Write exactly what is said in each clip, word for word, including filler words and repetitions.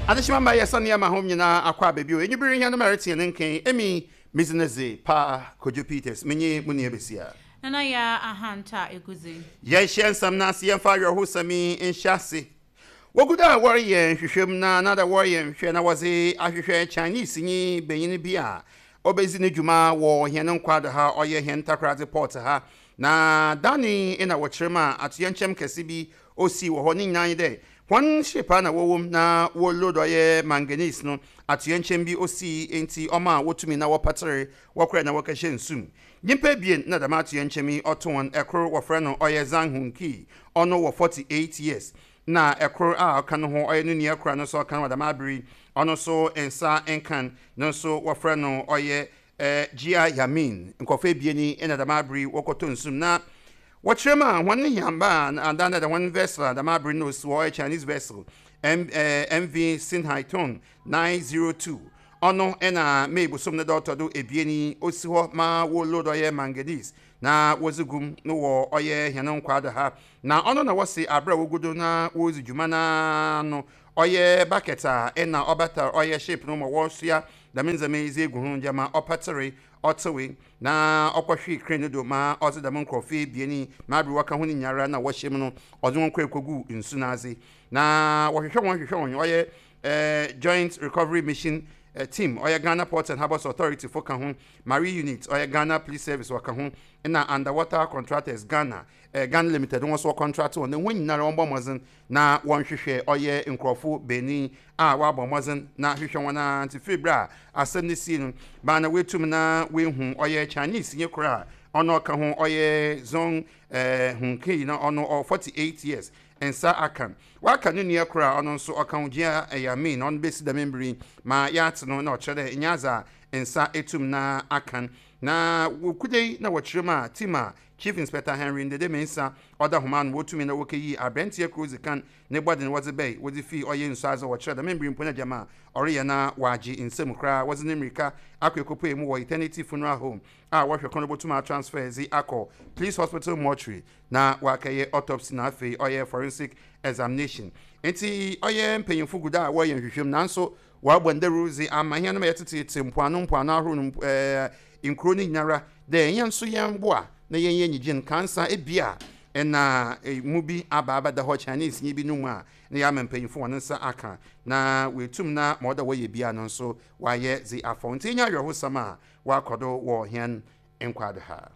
Adehyema ma yɛsane ama hom nyinaa akɔ abɛbio enwibere hia no mɛreteɛ ne nkan emi mizineze pa Kojo Peters menye mu nua besia. Nana Yaa Ahanta Eguzi. Yɛnhyɛ nsɛm no ase. Yɛmfa awerɛhosɛm yi nhyɛ ase. Wogu da a wɔreyɛ nhwehwɛm na na da wɔreyɛ nhwehwɛ na wɔdze ahwehwɛ Chinese nyi benyin bi a ɔbɛzi ne dwuma wɔ hɛn nkwado ha, ɔyɛ hɛn Takoradi port ha, na dani na wɔkyerɛ mu a atoyɛnkyɛm kɛse bi osi wɔ hɔ. Ne nyinaa nye dɛ wɔn ship a na wɔwɔ mu na wɔload ɔyɛ manganese no, atoyɛnkyɛm bi osi nti ɔma a wotumi na wɔpatere wɔkora na wɔkɛhyɛ nsum. Nyimpa ebien na dɛm atoyɛnkyɛm yi ɔto wɔn. Ɛkoro wɔfrɛ no ɔyɛ Zhang Hunki, ɔno wɔ forty-eight years, na ɛkoro a ɔka no ho ɔyɛ no nua kora no nso ɔka no wɔ dɛm abere, ɔno nso nsa nkan no nso wɔfrɛ no ɔyɛ ɛɛ Jia Yamin. Nkɔfo ebien yi ɛna dɛm abere wɔkɔtɔ nsum na wɔkyerɛ mu a wɔn yamba a adan dɛ wɔn vessel a dɛm abere no osi hɔ ɔyɛ Chinese vessel M ɛɛ M V Sinhaitong nine zero two. Ɔno ɛna May bosom ne dɛ ɔtɔ do ebien yi osi hɔ ma wɔload ɔyɛ manganese na wɔdze gum no wɔ ɔyɛ hɛn nkwado ha, na ɔno na wɔsi abere a wɔgu do na wɔredzi dwuma naa no, ɔyɛ bucket a ɛna ɔbata ɔyɛ ship no ma wɔresoa dɛm ndzɛmba yi dze egu ho gyama ɔpatere ɔtewe na ɔkɔhwee crane no do ma ɔdze dɛm nkurɔfo ebien yi ma abere wɔka ho no nyinara na wɔhyɛ mu no ɔdze wɔn kɔ ekogu nsu n'adze. Na wɔhwehwɛ wɔn hwehwɛ wɔn, ɔyɛ ɛɛ Joint Recovery Mission uh, team, ɔyɛ Ghana Ports and Harbours Authority fo ka ho, Marine Unit, ɔyɛ Ghana Police Service wɔka ho, ɛna Underwater Contractors Ghana eh, Ghana Limited wɔn nso contract wɔn na wɔn nyinara wɔn bɔ mmɔden na wɔnhwehwɛ ɔyɛ nkurɔfo benin a wɔabɔ mmɔden na hwehwɛ wɔn a. Nti firi bere a asɛm no si no baa na wɔatum na wɔehu ɔyɛ Chinese nye koro a ɔno ɔka ho, ɔyɛ Zong ɛɛ Hunkei, na ɔno ɔwɔ forty-eight years, nsa aka waka ne nua koro a ɔno nso ɔka ho, Gyia Yamin, na ɔno bɛsi dɛm mbiri ma yɛate no na ɔkyerɛ dɛ nyɛ adze a nsa etum na aka. Na wɔkude yi na wɔkyerɛ mu a team a Chief Inspector Henry Ndede Mensa ɔda homa no wɔtumi na wɔkɛyi aberanteɛ koro dzi kan ne bɔde no wɔdze bɛyi wɔdze fii ɔyɛ nsu adze. Wɔkyerɛ dɛm mbiri mpo no gyama a ɔreyɛ na wɔagye nsam koraa, wɔdze ne mmirika akɔ ekɔpue mu wɔ Eternity Funeral Home a wɔhwɛ kɔn no bɔtum atransfer dze akɔ Police Hospital mortuary na wɔakɛyɛ autopsy na afei ɔyɛ forensic examination. Nti ɔyɛ mpanyinfo gu da a wɔyɛ nhwehwɛmu, nanso wɔabɔ ndawuro dze ama hɛn no ma yɛtetete mpoano mpoano ahorow no ɛɛ nkuro no nyinara dɛ yɛn nso yɛn boa na yɛn yɛ nyigye nkansa ebia ɛna mu bi aba abɛda hɔ Chinese nye bi no mu a na yɛama mpanyinfo wɔn nsa aka na wɔetum na ma ɔda wɔyɛ bia no nso wɔayɛ dze afɔ. Nti enya awerɛhosɛm a wɔakɔ do wɔ hɛn nkwado ha.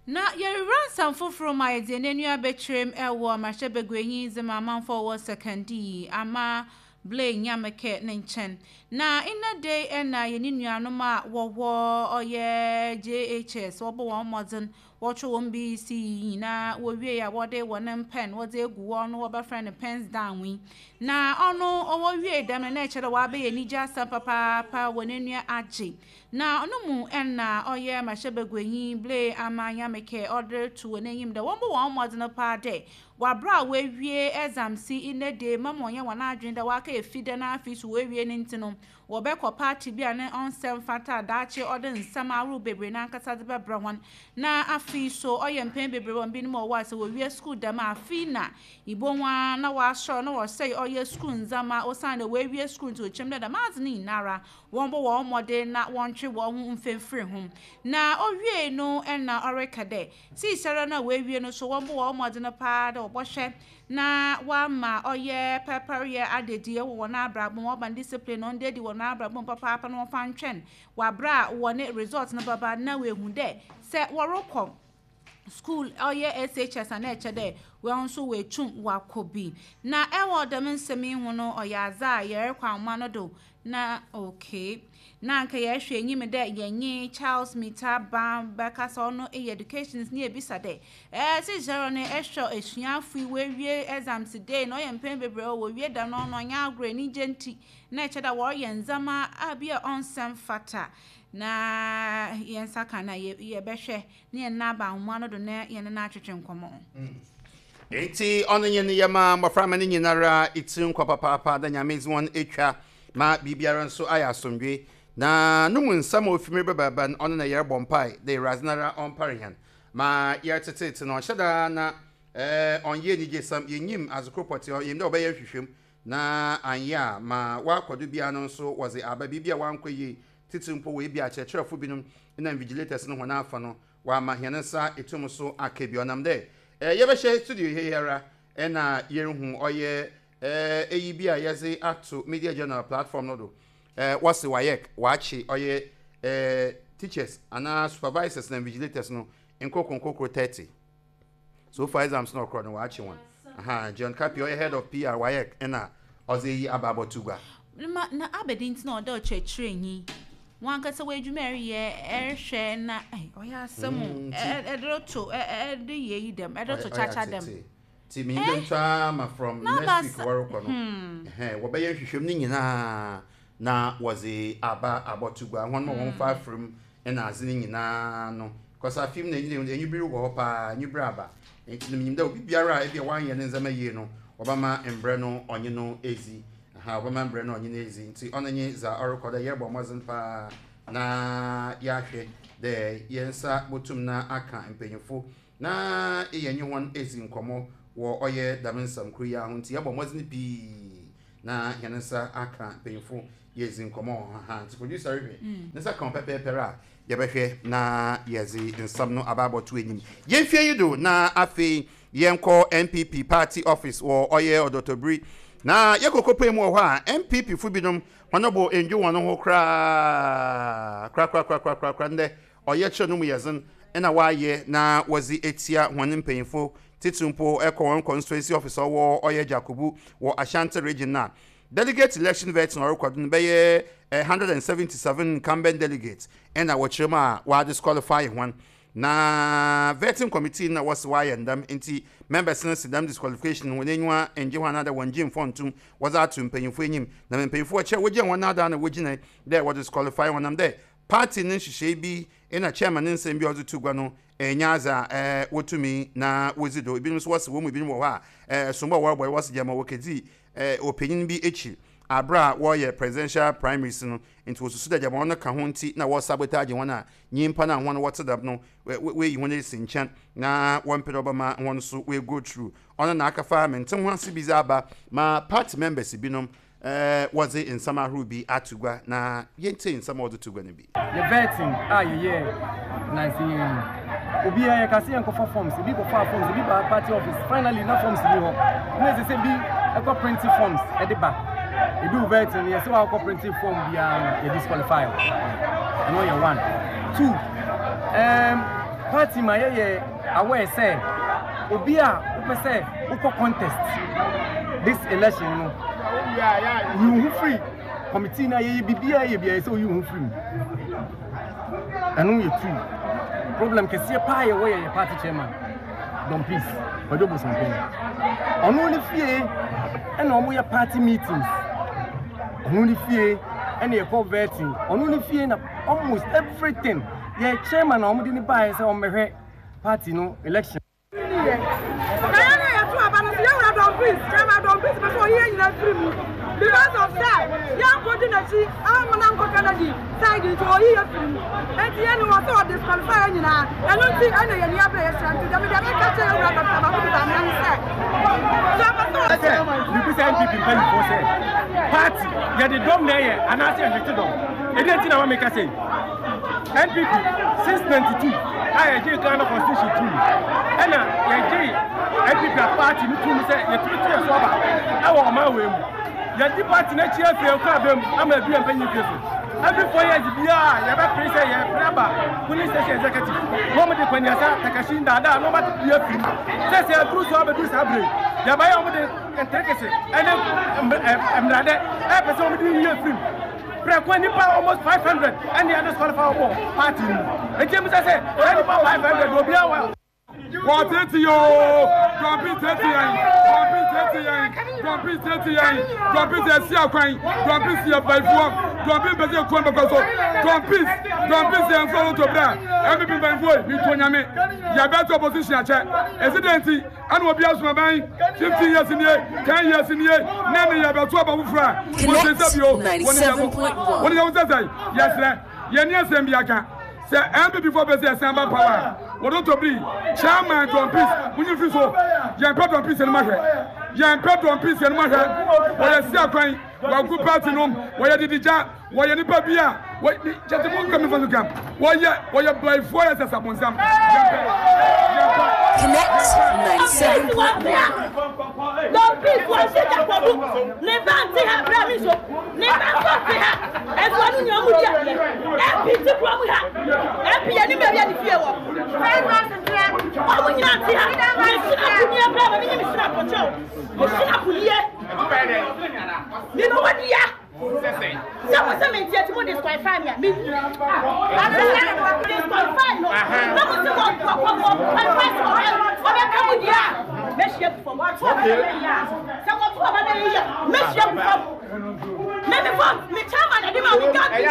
Na yɛrewura nsɛm foforɔ mu a yɛde n'ani abɛkyerɛm ɛwɔ mmarahyɛbaguanyi dze ma amanfoɔ wɔ Sekondi ama Blay Nyameke ne nkyɛn. Na nna de ɛna yɛne nuanom a wɔwɔ ɔyɛ J H S wɔbɔ wɔn mmɔden wɔtwe wɔn B E C nyinaa wɔwie a wɔde wɔn pen wɔde egu wɔn no wɔbɛfrɛ no pens down yi, na ɔno ɔwɔ wie dɛm no na ɛkyerɛ dɛ wɔabɛyɛ anigye asɛm papaapa wɔ n'anua agye. Na ɔno mu ɛna ɔyɛ mmarahyɛbaguanyi Blay Ama Nyameke ɔde to wɔn anim dɛ wɔn bɔ wɔn mmɔden paa dɛ wabra a wɔawie exams yi nnɛ de mama wɔnyɛ wɔn adwene dɛ wɔaka efi dɛ na afei so wɔawie ne nti no wɔbɛkɔ party bi a ne ɔnsɛm fata daakye ɔde nsɛm ahorow bebree n'ankasa de bɛbrɛ wɔn. Na afei so ɔyɛ mpɛn bebree wɔn binom a wɔwɔ a sɛ wɔwie school dɛm a afei na ibo ho ara na wɔasɔrɔ na wɔsɛe ɔyɛ school ndzɛmba osiane dɛ wɔawie school. Nti wɔkyɛm dɛ dɛm adze no nyinara wɔn bɔ wɔn mmɔden na wɔntwe wɔn ho mfimfiri ho. Na owie no ɛna ɔreka dɛ siisɛrɛ no a wɔawie no so wɔn bɔ wɔn mmɔden paa dɛ wɔbɔhwɛ na wɔama ɔyɛ pɛpɛreyɛ adedi wɔ wɔn abrabɔ mu, wɔba discipline no ɔno adi wɔn abrabɔ mu papaapa na wɔfa ntwɛn wɔabra a wɔne result no bɛba na wɔehu dɛ sɛ wɔrekɔ school ɔyɛ S H S a na ɛkyɛ dɛ wɔn nso wɔetum wakɔ bi. Na ɛwɔ dɛm nsɛm yi ho no ɔyɛ adze a yɛrekɔ ahoma no do na okay na nka yɛhwɛ enyim dɛ yɛnye Charles Mita Ban bɛkasa, ɔno yɛ educationist, ne yɛbisa dɛ ɛɛ sisi no ɛhwɛ esuafo yi wɔawie exams day na ɔyɛ mpɛn bebree wɔ wɔwie da no ɔno ɔnyɛ agorɔ anigye nti na ɛkyɛ dɛ wɔreyɛ ndzɛmba a bi a ɔnsɛm fata. Na yɛn nsa ka na yɛbɛhwɛ ne yɛn nan aba ahoma no do na yɛn nan atwetwe nkɔmɔ. Nti ɔno nye ne yɛma mmɔframma no nyinara ɛtiri nkɔ papaapa da Nyame dze wɔn atwa ma biribiara nso ayɛ asomdwe. Na no mu nsɛm a ofimi bɛbɛba no ɔno na yɛrebɔ mpae dɛ Awurade nara ɔmpare hɛn ma yɛretetete no ɔhyɛ daa na ɛɛ ɔnyɛ anigyesɛm. Yɛnyim adze koro pɔtee yɛnim dɛ ɔbɛyɛ nhwehwɛmu. Na anyɛ a ma wakɔdo bia no nso wɔdze aba biribi a wankɔ yie titiri mpo wɔ ebi akyerɛkyerɛfo binom na invigilators no hɔn afa no wama hɛn nsa etum so aka bi. Ɔnam dɛ ɛɛ yɛbɛhyɛ studio yi ara ɛna yɛrehu ɔyɛ ɛɛ eyi bi a yɛdze ato Media General platform no do. ɛɛ wɔsi WAEC wakye ɔyɛ ɛɛ teachers anaa supervisors na invigilators no nkoko nkoko thirty. So far exams no ɔkorɔ no wakye wɔn. Aha John Kapi, ɔyɛ head of P R WAEC, ɛna ɔdze eyi aba abɔto gua. Ma na abɛdi nti na ɔda ɔkyerɛkyerɛnyi wɔn ankasa wɔ adwuma ɛreyɛ ɛrehwɛ na ɔyɛ asɛm ɛde to ɛde yɛ yi dɛm ɛde to kyakya dɛm. Ti mi ndé ntwa ma from next week wɔrekɔ no wɔbɛyɛ nhwehwɛm ne nyinaa na wɔdze aba abɔto gua wɔn ma wɔn fa afirim ɛna adze ne nyinaa no kɔsa afim na enyi enyi biri wɔ hɔ paa, enyi biri aba. Nti na minyim dɛ obi biara a ebi a wanyɛ ne ndzɛmba yie no, wɔbɛma mbrɛ no ɔnye no ezi ha, wɔbɛma mbrɛ no ɔnye no ezi. Nti ɔno nye dza ɔrekɔ dɛ yɛrebɔ mmɔdzen paa na yɛahwɛ dɛ yɛn nsa botum na aka mpanyinfo na yɛnye wɔn ezi nkɔmmɔ wɔ ɔyɛ dɛm nsɛm koro yi ho. Nti yɛbɔ mmɔdzen pii na yɛn nsa aka mpanyinfo, yɛzi nkɔmmɔ wɔ ha. Nti producer rehwɛ ne nsa ka pɛpɛɛpɛr a yɛbɛhwɛ na yɛdze nsɛm no aba abɔto anim. Yɛmfie yi do na afei yɛnkɔ N P P party office wɔ ɔyɛ Ɔdɔtɔbiri na yɛkɔkɔ pɛ mu wɔ hɔ a N P P fo binom wɔn bɔ ndwo wɔn ho koraa korakorakorakorakora. Ndɛ ɔyɛ kyerɛ no mu yɛdzen ɛna wɔayɛ na wɔdze etia wɔn mpanyinfo titiri mpo ɛkɔ wɔn constituency office ɔwɔ ɔyɛ Jakubu wɔ Ashanti Region. Na delegate election vetting ɔrekɔ do no bɛyɛ hundred and seventy seven incumbent delegates ɛna wɔkyerɛ mu a wɔadisqualify wɔn, na vetting committee na wɔsi wɔayɛ ndam. Nti members no si dam disqualification wɔn enyiwa ngye hɔ anaadɛ wɔn gye mfɔntum wɔdze ato mpanyinfo anim. Na mpanyinfo wɔkyerɛ wɔgyina wɔn adan na wɔgyina dɛ wɔde disqualify wɔn nam dɛ party ne nhyehyɛe bi ɛna chairman ne nsɛm bi a ɔdze to gua no ɛnyɛ adze a ɛɛ wɔtumi na wɔdzi do. Ebinom nso wɔsi wɔn mu ebinom wɔ hɔ a ɛɛ sombo a wɔrebɔ wɔsi gyama wɔkɛdzi ɛɛ ɔpanyin bi akyi abere a wɔreyɛ presidential primaries no. Nti wɔsusu dɛ gyama wɔn ka ho nti na wɔsabotage wɔn a nyimpa no a wɔn wɔte dam no wɔayi wɔn esi nkyɛn na wɔn mpɛ dɛ ɔbɛma wɔn nso wɔago through. Ɔno na akafa mente ho ase bi dze aba ma party members binom ɛɛ wɔdze nsɛm ahorow bi ato gua na yɛntie nsɛm a wɔdze to gua no bi. Yɛ vetting a yɛyɛ nansi yɛn yi, obiara yɛ kase yɛn kɔfa forms, ebi kɔfa forms, ebi ba party office, finally na forms ni hɔ na ɛsɛ sɛ bi ɛkɔ print forms ɛde ba. Edu vetting yɛ sɛ wakɔ print form biara no, yɛ disqualify. Ɛno yɛ one. Two, um, party ma yɛyɛ aware sɛ obi a wopɛ sɛ wokɔ contest this election no, yi wo ho firi committee na yɛyɛ biribiara yɛ biara sɛ oyi wo ho firi mu. Ɛno yɛ two. Problem kɛseɛ paa yɛwɔ yɛ yɛ party chairman Don Peace Kwadwo Bosompem. Ɔno ne fie ɛna ɔmo yɛ party meetings, ɔno ne fie ɛna yɛkɔ vetting, ɔno ne fie na almost everything. Yɛ chairman a ɔmo de ne baayɛ sɛ ɔmmɛhwɛ party no election. Na yɛn a yɛto aba no so, yɛwura Don Peace, chairman Don Peace, pɛ sɛ ɔyi yɛn nyinaa firi mu because of sɛ yɛnkɔdi n'akyi amana nkɔ Kennedy side, nti ɔyi yɛ firi mu. Enti yɛn ni wɔ sɛ ɔdisqualify yɛn nyinaa. Ɛno nti ɛna yɛn ni abere yɛhyɛ. Nti dɛm deɛ meka kyerɛ yɛwura Doctor Mahmoud Bawumia ne sɛ sɛ ɔpɛ sɛ sɛ bibisa N P P mpanyinfoɔ sɛ party yɛde dɔm na ɛyɛ anaasɛ yɛhwete dɔm. Ɛdi nti na wɔn meka sɛ N P P since ninety two a yɛgye Ghana constitution tum ɛna yɛgye N P P a party no tum sɛ yɛtumi to yɛ so aba ɛwɔ ɔman wei mu. Yɛdi party n'akyi afei nkɔ abɛm ama ebi yɛn mpanyin fie so. Every four years biara yɛbɛpere sɛ yɛpere aba polling station executive na wɔn de kwaniasa takasi ndaadaa na wɔn ate bia firi mu sɛ sɛ aduru so abɛduru saa bere yɛbɛyɛ wɔn de nterekese ɛne mmradɛ ɛpɛ sɛ wɔn de yie firi mu prɛko. Nipa almost five hundred ɛne yɛ disqualify wɔ party mu. Eti emu sɛ sɛ saa nipa five hundred obiara wɔ. Wɔtete yoo, dɔmpi tete yɛn, dɔmpi tete yɛn, dɔmpi tete yɛn, dɔmpi sɛ esi akwan, dɔmpi si abayifoɔ, dɔmpi mpɛ sɛ ekuo mbɛkɔ so, dɔmpi dɔmpi sɛ nfɔ lotto bra. N P P mpanyinfoɔ yi mi to nyame yɛbɛto opposition akyɛ esi de nti ɛna obi asoma ban fifteen years nie, ten years nie ne ne yɛbɛto aba foforɔ a wɔn sɛ bio wɔn ni yɛbɔ wɔn ni yɛbɔ sɛ sɛ yɛsrɛ yɛn ni asɛm bi aka sɛ N P P fo bɛ sɛ ɛsɛn ba power a wɔde to biri chairman John Peace munyi fi so. Yɛn pɛ John Peace ɛnum ahwɛ. Yɛn pɛ John Peace yɛn mu ahwɛ. Wɔyɛ si akwan wɔagu party nom, wɔyɛ didigya, wɔyɛ nipa bi a kyɛsɛ mo nka mi fa so kam, wɔyɛ wɔyɛ bayifoɔ, yɛ sɛ sabonsam. Yɛn pɛ, yɛn pɛ. Connect ninety-seven point one. Don Peace wɔ si Jakobu ne ba nti ha bra mi so ne ba nso nti ha. Ɛfɔ no nyina mu di adeɛ M P ti kura mu ha. M P yɛ ni baabi a ne fie wɔ, ɔmo nyina nti ha. Me sinapu nie bra ma mi nye me sinapu kyɛw, me sinapu nie mi ma wɔ dia sɛ mo sɛ mente ati mo disqualify me a, me disqualify no na mo sɛ wɔ wɔ wɔ wɔ qualify sɛ ɔbɛ ɔbɛka mo deɛ a, mɛhyia gu fam. Sɛ wɔto ɔba bɛyɛ yie, mɛhyia gu fam. Me me fam me chairman ɛde ma me Gabi,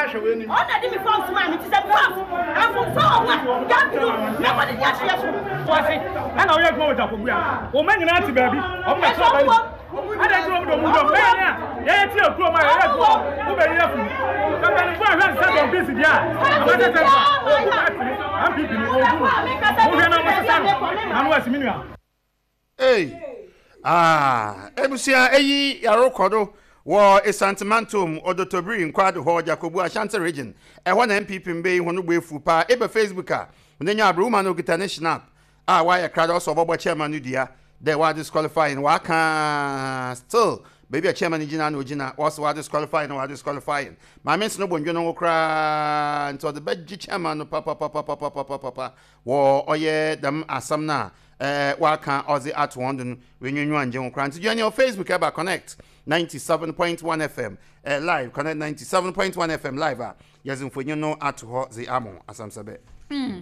ɔna de me fam so ma me ti sɛ me fam afomfa wɔ ho a, Gabi no mɛkɔ de de ahyia so. Wase ɛna ɔyɛ adwuma wɔ Jakobu a wɔn nyinaa te baabi, ɔmo bɛ tena baabi ɛna nti wɔn de ɔmo dɔm bɛyɛ ne a yɛyɛ tie kurom a yɛyɛ adwuma wo bɛ yɛ funu mpanyinfoɔ a hwɛ nsa John Peace deɛ a ɔbɛtɛ sɛ nsa ogu party no N P P no ogu no mo hwɛ na mo sesa no na no asi mi nua. Ei, ah, ebusua, eyi yarokɔ do wɔ Esantemantom Odotobiri Nkwado hɔ, Jakobu, Ashanti Region. Ɛhɔ na N P P mbe yi ho no bu efu paa. Eba Facebook a onenya aberewuma no okita ne snap a wayɛ krado ɔsɔ ɔbɔbɔ chairman no dua dɛ wa disqualify no. Waka still baabi a chairman no gyina na ogyina wɔsɛ wa disqualify no, wa disqualify no. Maame nso no bɔ ndwo no ho koraa nti ɔde bɛgye chairman no papapapapapapa wɔ ɔyɛ dɛm asɛm no a ɛɛ waka ɔdze ato wɔn do no, wenwenwa ngye ho koraa. Nti join your Facebook, ɛba Connect ninety-seven point one F M eh, live, Connect ninety-seven point one F M live a yɛdze mfonyin no ato hɔ dze amo asɛm Hmm.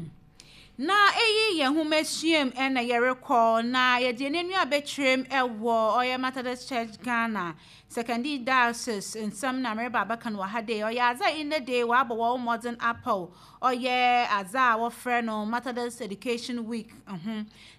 Na eyi yɛ nhoma suam ɛna yɛrekɔ na yɛde yɛn ani abɛkyerɛm ɛwɔ ɔyɛ Methodist Church Ghana Sekondi Diocese nsɛm na mmereba abɛka no wɔ ha de. Ɔyɛ adze a nnɛ de wɔabɔ wɔn mmɔden apɔw ɔyɛ adze a wɔfrɛ no Methodist Education Week ho,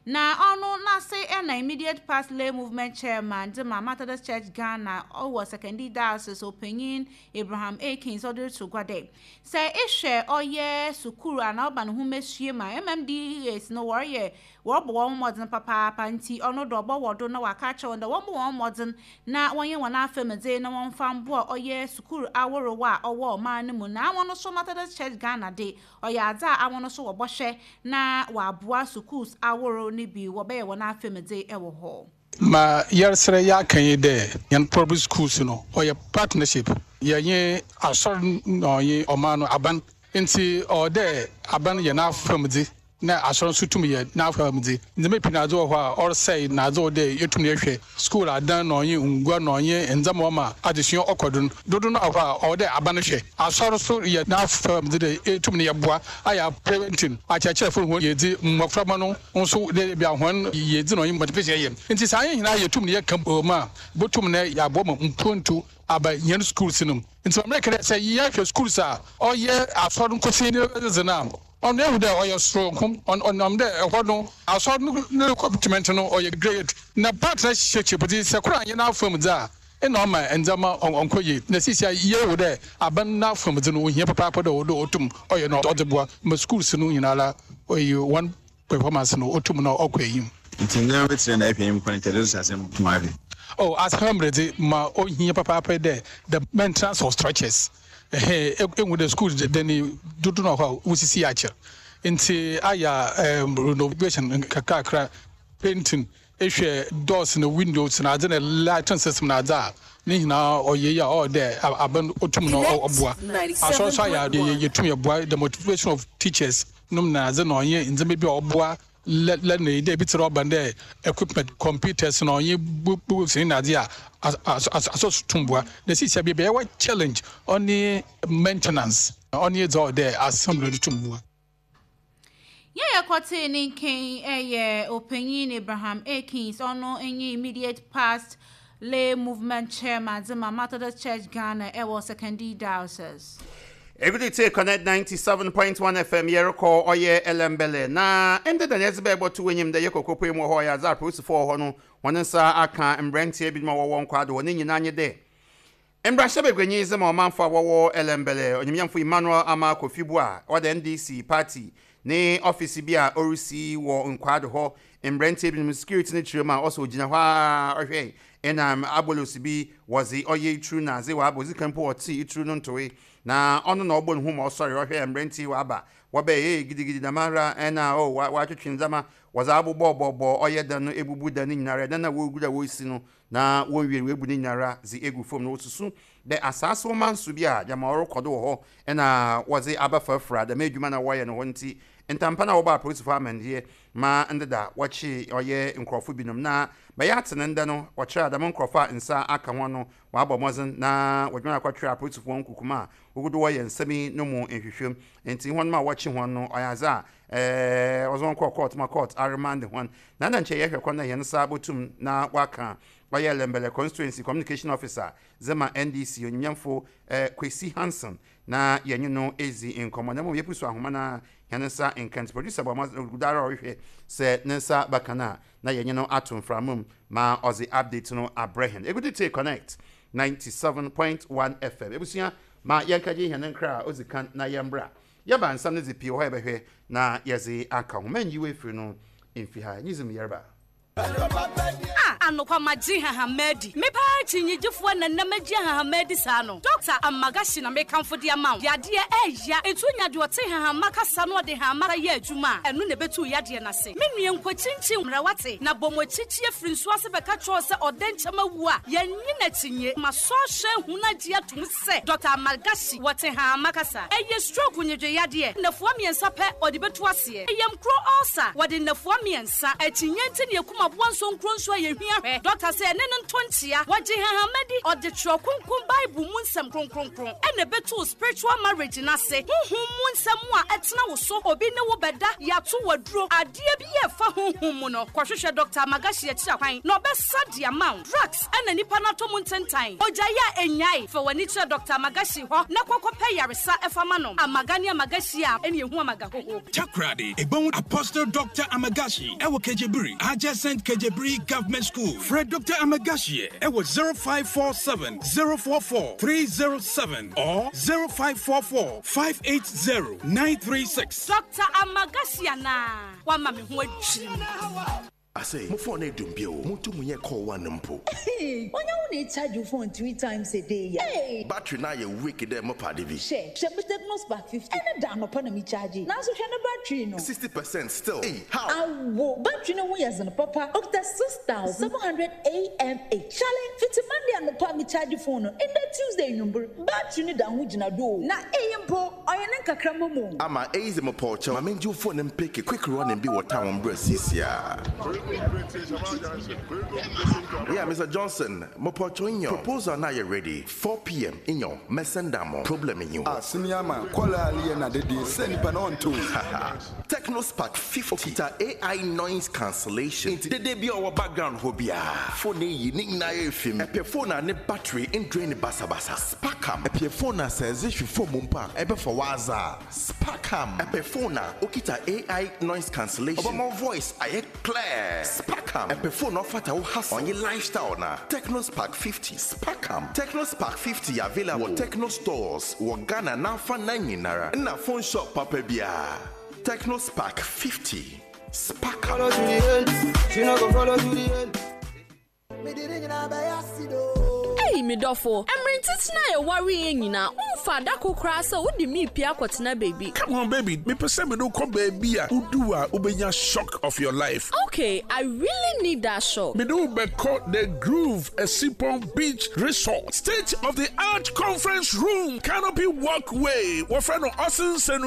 na ɔno n'ase ɛna immediate past lay movement chairman de ma Methodist Church Ghana ɔwɔ Sekondi Diocese, ɔpanyin Abraham Akins, ɔde reto gua dɛ sɛ ehwɛ ɔyɛ sukuu anaa ɔba ne ho mesue ma M M D Es no, wɔreyɛ wɔrebɔ wɔn mmɔden papaapa. Nti ɔno dɔ ɔbɔ wɔ do na waka akyerɛ wɔn dɛ wɔmbɔ wɔn mmɔden na wɔnyɛ wɔn afɛmdze na wɔmfa mboa ɔyɛ sukuu ahorow a ɔwɔ ɔman no mu. Na wɔn nso Methodist Church Ghana de ɔyɛ adze a awɔn nso wɔbɔhwɛ na wɔaboa schools ahorow no bi wɔbɛyɛ wɔn afɛmdze wɔ hɔ. Ma yɛresrɛ yɛaka yi dɛ yɛn public schools no ɔyɛ partnership, yɛnye asɔr na ɔnye ɔman no aban, nti ɔwɔ dɛ aban yɛ n'afamdze na asɔr nso tum yɛ n'afamdze. Ndzɛmba pii na adze wɔ hɔ a ɔresɛe na adze wɔ dɛ yɛtum yɛhwɛ school adan na ɔnye ngua na ɔnye ndzɛmba ɔma adesua ɔkɔ do no dodo no wɔ hɔ a ɔwɔ dɛ aban hwɛ. Asɔr so yɛ n'afamdze dɛ etum ne yɛboa ayɛ parenting, akyerɛkyerɛfo hɔn yɛdzi mmɔframma no nso dɛ bia hɔn yɛdzi na ɔnye motivation yɛ. Nti saa yɛn nyinaa yɛtum ne yɛka mu a botum ne yɛaboa ma mpontu aba yɛn schools no mu. Nti maame kɛdɛ sɛ yɛhwɛ schools a ɔyɛ asɔr nkosi ne dze no a, ɔno ehu dɛ ɔyɛ soronko, ɔnam dɛ ɛhɔ no asɔr no ne commitment no ɔyɛ great na partnership dze sɛ koro anyɛ n'afam dze a ɛna ɔma ndzɛmba ɔnkɔ yie. Na sisi a yɛwɔ dɛ aban n'afam dze no ohia papaapa dɛ ɔdɛ ɔtum ɔyɛ na ɔdze boa ma schools no nyinara ɔyɛ wɔn performance no ɔtum na ɔkɔ enyim. Nti nneɛma bɛtena na ɛhwɛ enyim kwan kyerɛ dɛ asɛm tum ahwɛ. Oh, asɛm dze ma ohia papaapa dɛ the maintenance of structures. Ɛhɛn, ehu dɛ school de ne dodo na hɔ a wosisi akyɛ, nti ayɛ um, renovation kakrakra, painting, ehwɛ doors na windows na adze na lighting system na adze a ne nyinaa ɔyɛ yi a ɔwɔ dɛ aban otum na ɔboa. Asɔr so ayɛ adeɛ yɛtum yɛboa the motivation of teachers nom na adze na ɔnyɛ ndzɛmba bi a ɔboa lɛ na yi dɛ ebi tse dɛ ɔba dɛ equipment, computers na ɔnye books ne nadze a asɔ so tum boa. Na sisi a baabi a yɛwɔ challenge ɔne maintenance, ɔne dza ɔwɔ dɛ assembly no tum boa. Yɛyɛ kɔtee ne nkan ɛyɛ ɔpanyin Abraham Akins, ɔno nye immediate past lay movement chairman dze ma Methodist Church Ghana ɛwɔ Sekondi Diocese. Every day Connect ninety-seven point one F M, yɛrekɔ ɔyɛ Ellembelle na ɛnde da yɛdze bɛɛbɔ to w'enyim dɛ yɛkɔ kɔpue mu wɔ hɔ. Ɔyɛ adze apolisifoɔ wɔ hɔ no wɔn nsa aka mmeranteɛ binom a wɔwɔ nkwaado hɔ ne nyinaa nye dɛ Mmarahyɛ bagwanyi sɛ ma ɔmanfo a wɔwɔ Ellembelle, onyimnyamfo Emmanuel Armah Kofi Buah, ɔda N D C party ne office bi a ɔresi wɔ Nkwado hɔ, mmeranteɛ binom security no kyerɛ mu a ɔsɛ ogyina hɔ a ɔhwɛ ɛnam abolos bi wɔdze ɔyɛ ituru na adze wɔabɔ odzi kan mpo ɔte ituru no ntoe na ɔno na ɔbɔ ne ho ma ɔsɔre ɔhwɛ mmeranteɛ wɔaba wɔbɛyɛ ee gidigidi damara ɛna o wɔatwetwe ndzɛmba wɔdze abobɔbɔbɔ ɔyɛ dan no ebubu dan no nyinara, dan a wɔregu a wɔresi no na wɔnwie wɔebu ne nyinara dze egu fam na wɔsusu dɛ asaase wɔma nso bi a gyama ɔrekɔ do wɔ hɔ ɛna wɔdze aba frafra dɛm adwuma na wɔyɛ no hɔ. Nti ntampa na wɔbɔ apolisifoɔ amandeɛ ma ndeda wɔkye ɔyɛ nkurɔfo binom na bɛyɛ atene ndɛ no wɔkyerɛ adama nkurɔfo a nsa aka ho no wɔabɔ mmɔden na wɔdwuma akɔtwerɛ apolisifoɔ nkukuma a wɔgudo wɔyɛ nsɛm yi no mu nhwehwɛm. Nti wɔn a wɔkye wɔn no ɔyɛ adze a ɛɛ wɔdze wɔn kɔɔ court ma court aremand wɔn na na nkyɛn yɛhwɛ kwan na yɛn nsa bɔtum na waka ɔyɛ Ellembelle Constituency Communication Officer zema N D C, onyimnyamfo ɛɛ Kwesi Hanson, na yɛnye no ezi nkɔmmɔ na mmom yɛpu so ahoma na yɛn nsa nka. Nti producer bɔ ɔmo dara ɔrehwɛ sɛ ne nsa baka no a na yɛnye no ato mframa mu ma ɔdze update no abrɛ hɛn. Egudu tie Connect ninety-seven point one F M. Ebusua, ma yɛnkagye hɛn nkra a odzi kan na yɛmbra yɛba nsɛm no dze pii wɔ hɔ yɛbɛhwɛ na yɛdze aka ho. Mɛnyi wo efiri no mfi ha nyizim yɛreba. A anokwa magye hahama adi mepaa kyinnyegyefoɔ nanam agye hahama adi saa no. Doctor Amagashi na mekamfo de ama wo. Yadeɛ ɛɛya ɛnti wonya deɛ ɔte hahama kasa no ɔde hahama yɛ adwuma a ɛno na ɛbɛtu yadeɛ no ase. Me nua, nkɔkyinkyin mmara wate na bɔ mɔkyikyie firi nso ase bɛka kyerɛw sɛ ɔdɛ nkyɛm awu a yɛnyi n'akyinye ma sɔɔhyɛ hu no agye atom sɛ Doctor Amagashi wɔte hahama kasa. Ɛyɛ stroke nyedwe yadeɛ, nnafua mmiɛnsa pɛ ɔde bɛtu aseɛ. Ɛyɛ nkuro ulcer, wɔde nnafua mmiɛnsa. Akyinnye nti ne yɛkum aboa nso nkuro nso a yɛhwia hwɛ doctor sɛ ɛne no nto nkyea. Wɔgye hahama di, ɔde twerɛ kronkron Bible mu nsɛm kronkronkron ɛna ɛbɛtu spiritual marriage n'ase, honhom mu nsɛm a ɛtena wo so, obi ne wo bɛda yɛato waduro adeɛ bi yɛ ɛfa honhom mu no. Kɔhwehwɛ Doctor Amagashi akyiri akwan na ɔbɛsa de ama wo. Drugs ɛna nipa no atɔ mu ntentan ogyae a ɛnyae fa w'ani kyerɛ Doctor Amagashi hɔ na kɔkɔpɛ yaresa ɛfa ma no. Amaga ne Amagashi a ɛne ɛhu amaga hoho. Takoradi, Ebon Apostle Doctor Amagashi, ɛwɔ Kejebiri, adjacent Kejebiri Government School. Frɛ Doctor Amagashi, ɛwɔ zero five four seven zero four four three zero seven or zero five four four five eight zero nine three six. Doctor Amagashi anaa wama me ho adwiri me. Ase mo phone edum bio mo mu nyɛ call one mpo. Onye wo na charge your phone three times a day ya? Hey! Battery na yɛ weak dɛ mo pade bi. Hwɛ, hwɛ me Tecno Spark fifty. Ɛne da anɔpa na me charge. Nanso hwɛ ne battery no. sixty percent still. Hey, how? Awo, battery no ho yɛ zen papa. Okita six thousand seven hundred M A H. Charlie, fiti Monday anɔpa me charge phone no. Ndɛ Tuesday nwumbere. Battery no da ho gyina do. Na eyi mpo, ɔyɛ ne nkakra mu. Ama eyi sɛ mo pɔkyɛw. Ma menji phone no mpeke quick running bi wɔ town brɛ sisia. Yeah, Mister Johnson, mo pɔkyɛw inyo. Proposal na yɛ ready. four p m inyo. Mesenda mo. Problem inyo. Ah, senior man, kɔla aliɛ na dede sɛ nipa na ɔnto. Tecno Spark fifty. Okita A I noise cancellation. Nti dede bi a ɔwɔ background hɔ biara. Phone yi ne nyinaa yɛ fim. Ɛpɛ phone a ne battery ndrain ne basabasa. Sparkam. Ɛpɛ phone a sɛ ɛdze hwɛ phone mu mpo a ɛbɛfa waza. Sparkam. Ɛpɛ phone a okita A I noise cancellation. Ɔbɛma voice ayɛ clear. Sparkam. Ɛpɛ phone a ɔfata wo hustle. Ɔnye lifestyle na. Tecno Spark fifty. Sparkam. Tecno Spark fifty available wɔ Tecno stores wɔ Ghana n'afa nan nyinara. Ɛna phone shop papa biara. Tecno Spark fifty. Sparkam. Follow to the end. She no go follow to the end. Ei, me dɔfo, ɛmmerɛ ntitena a yɛware yɛ nyinaa womfa adako koraa sɛ wode meepie akɔtena baabi. Come on, baby, mepɛ sɛ mede wokɔ baabi a wodu a wobɛnya shock of your life. Okay, I really need that shock. Mede wo bɛkɔ The Groove Essipon Beach Resort, state of the art conference room, canopy walkway, wɔfrɛ no ɔsensɛn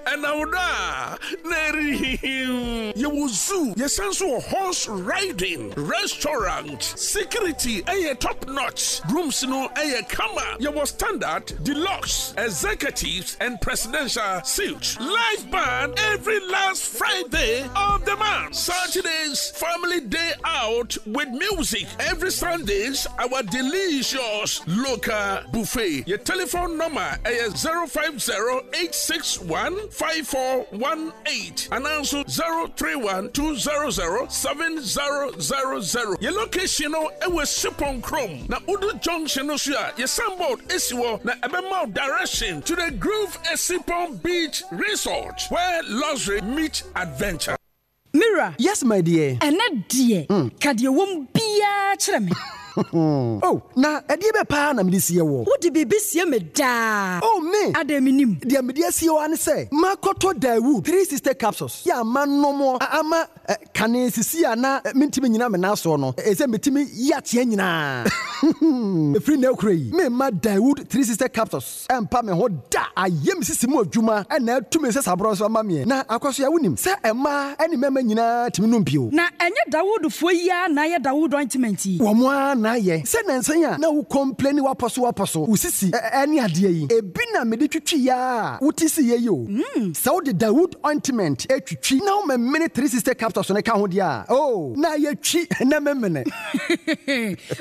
ɛnam do a na ɛrehihim. Yɛwɔ zoo, yɛsan so wɔ horse riding, restaurant, security ɛyɛ top notch, rooms no ɛyɛ kama. Yɛwɔ standard, deluxe. Deluxe, Executives, and Presidential Suite. Live band every last Friday of the month. Saturdays, family day out with music. Every Sundays, our delicious local buffet. Your telephone number is zero five zero eight six one five four one eight and also zero three one two zero zero seven zero zero zero. Your location no ɛwɔ Sipon Chrome na Udu Junction no so a your signboard esi hɔ na ɛbɛma direction to the Groove Essipon Beach Resort, where luxury meets adventure. Mira. Yes, my dear. Ɛnɛ deɛ, mm. ka deɛ wɔm biara kyerɛ me. Oh, na ɛdeɛ bɛ paa na mede sie wɔ? Wode biribi sie me daa. Oh, me adɛn, menim? Deɛ mede asie wɔ ne sɛ makɔtɔ Dawood three sixty capsules yɛ ama nomɔ ama kane sisi a na mentimi nyina me nan soɔ no, ɛsɛ metumi yi ateɛ nyinaa ɛfiri na akura yi. Memma Dawood three sixty capsules ɛmpa me ho da. Ayɛ me sisi mu adwuma ɛna atumi sɛ saborɔ nso ama meɛ na akɔ so a wonim sɛ ɛmaa ɛne mmarima nyinaa tumi nom bio. Na ɛnyɛ Dawoodfoɔ yi a na ayɛ Dawood ointment yi? Wɔ mo a na ayɛ sɛ nansan a na wo complain wapɔ so wapɔ so wo sisi ɛne adeɛ yi ebi na mede twitwi ya a wote si yɛ yi o. Sɛ wode Dawood ointment etwitwi na womɛmene three sixty capsules no ka ho deɛ a, oh, na yɛtwi na memene.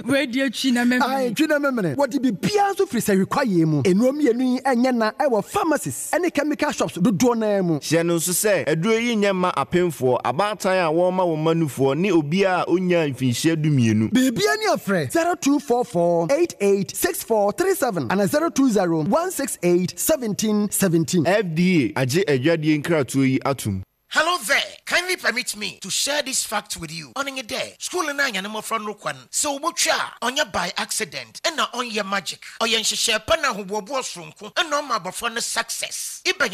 Wei deɛ, twi na memene. Ae, twi na memene. Wɔde biribiara nso firi sɛ hwekwayeɛ mu. Nnuro mmienu yi ɛnyɛ na ɛwɔ pharmacies ɛne chemical shops dodoɔ naa mu. Hyɛ no nso sɛ aduro yi nyɛ mma apemfoɔ, abaatan a wɔrema wɔn mma nufoɔ ne obiara a ɔnyaa mfinhyia dumienu. Biribia ni afrɛ zero two four four eight eight six four three seven ana zero two zero one six eight one seven one seven. F D A agye adwadeɛ nkratoɔ yi atom. Hello there. Kindly permit me to share this fact with you. On your day, school na anya mmɔfra no kwan. Sɛ wobotwa a, ɔnyɛ by accident, ɛna ɔnyɛ magic. Ɔyɛ nhyehyɛ pa na ahoboɔboɔ soronko, ɛna ɔma abɔfra no success. Ibɛnya